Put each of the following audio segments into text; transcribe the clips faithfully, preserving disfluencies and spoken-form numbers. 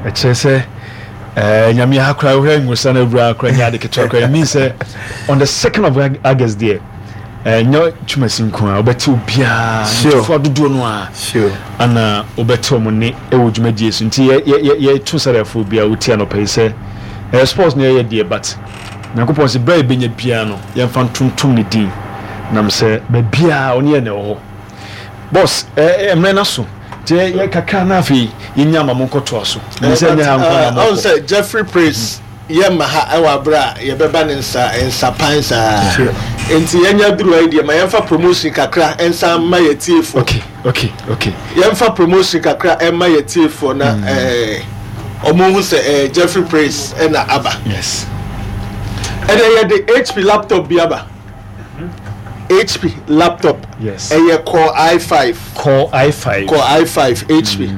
Ɛkyerɛ sɛ ɛɛ Nyame ha koraa, wohwɛ nwosra no awura koraa, nyɛ ade ketewa koraa. It means sɛ on the second of August deɛ, ɛnyɛ Twumasi nko a wobɛte obiara, ntofoɔ dodoɔ no a ana wobɛte ɔmo ne ɛwɔ dwumadie so. Nti yɛto sɛdɛfoɔ biara wotie anɔpa yi sɛ ɛyɛ sports no yɛyɛ deɛ, but Nyankopɔn sɛ berɛ a yɛbɛnya biara no, yɛmfa ntontom ne din nam sɛ baabiaa ɔne yɛ na ɛwɔ hɔ. Boss, mmerɛ no so nti yɛ kakra na afei yɛnya ama mo nkɔtoa so sɛ nyɛ ha nkɔ na mɔkɔ. Sɛ Jeffrey Praise yɛ ma ha ɛwɔ abere a yɛbɛba ne nsa nsapan saa, nti yɛnya duru ayi deɛ, ma yɛmfa promotion kakra nsa ma yɛ tiefoɔ. okay okay okay Yɛmfa promotion kakra ɛma yɛ tiefoɔ na ɛɛ ɔmo hu sɛ ɛɛ Jeffrey Praise ɛna aba. Yes ɛnna yɛde H P laptop bi aba, H P laptop. Yes ɛyɛ Core i five. Core i five. Core i five H P.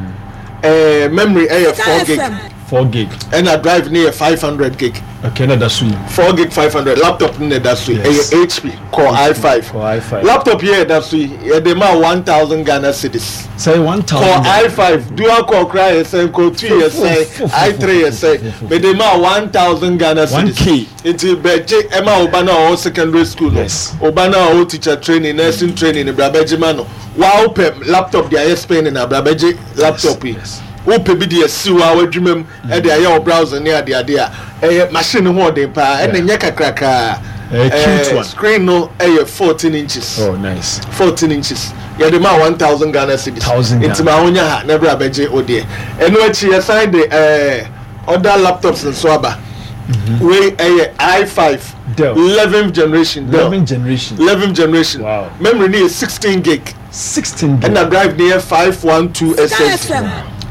ɛɛ memory ɛyɛ four gig. four gig. Ɛna drive ne yɛ five hundred gig. Okay, na da so yi. four gig five hundred laptop ne da so yi. Ɛyɛ H P Core i five. Core i five. Laptop yɛ ɛda so yi, yɛde ma one thousand Ghana cedis. Sɛ one thousand. Core i five, dual core kora yɛ sɛn, Core two yɛ sɛn, i three yɛ sɛn? Mede ma one thousand Ghana cedis. one K. Nti bɛgye ɛma ɔba no a ɔwɔ secondary school no. Yes. Ɔba no a ɔwɔ teacher training, nursing training, bra bɛgye ma no. Wa wopɛ laptop de ayɛ spinning a, bra bɛgye laptop yi. yes. Wopɛ bi de asi wa w'adwuma mu, ɛde ayɛ wɔ browser ne adeade a, ɛyɛ machine no ho ɔden paa, ɛna nyɛ kakrakaa. Ɛyɛ cute one. Screen no ɛyɛ fourteen inches. Oh, nice. fourteen inches, yɛde ma one thousand Ghana cedis. one thousand. Nti ma ahonya ha na ɛbrɛ abɛgye o deɛ. Ɛno akyi, yɛsan de ɛɛ other laptops nso aba. Wei ɛyɛ i five. Dell. eleventh generation Dell. eleventh generation. eleventh generation. Wow. Memory no yɛ sixteen gig. sixteen gig. Ɛna drive no yɛ five one two S S D.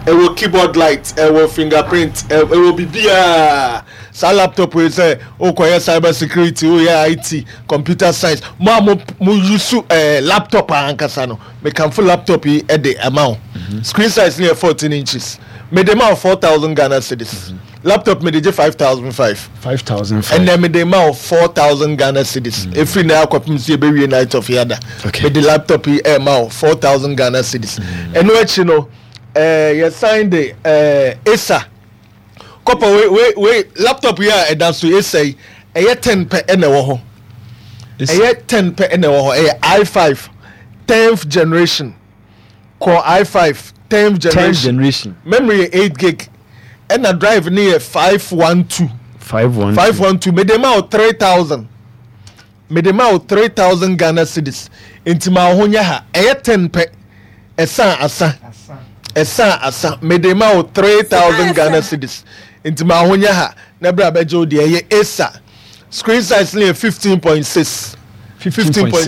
Ɛwɔ keyboard light, ɛwɔ fingerprint, ɛwɔ biribiara. Saa laptop yi, sɛ wokɔyɛ cyber security, woyɛ I T, computer science, mo a mo mo use ɛɛ laptop ankasa no, mekamfo laptop yi ɛde ɛma wo. Screen size no yɛ fourteen inches. Mede ma wo four thousand Ghana cedis. Laptop mede gye five thousand five. five thousand five. Ɛnna mede ma wo four thousand Ghana cedis. Efiri na akɔpem si ebewie Night of Yada. Okay. Mede laptop yi ɛma wo four thousand Ghana cedis. Ɛno akyi no, ɛɛ yɛsan de ɛɛ Acer kɔpɔ wei wei wei laptop yi a ɛda so, Acer yi, ɛyɛ ten pɛ ɛna ɛwɔ hɔ. Ɛyɛ ten pɛ ɛna ɛwɔ hɔ. Ɛyɛ i five tenth generation, Core i five tenth tenth generation. Generation. Memory yɛ eight gig, ɛna drive ne yɛ five one two. five one two. five one two, mede ma wo three thousand, mede ma wo three thousand Ghana cedis. Nti ma wo ho nyɛ ha, ɛyɛ ten pɛ, ɛsan asa, ɛsan asa. Mede ma wo three thousand Ghana cedis. Nti ma wo ho nyɛ ha na bere abɛgye wo deɛ. Ɛyɛ Acer, screen size no yɛ fifteen point six. fifteen point six.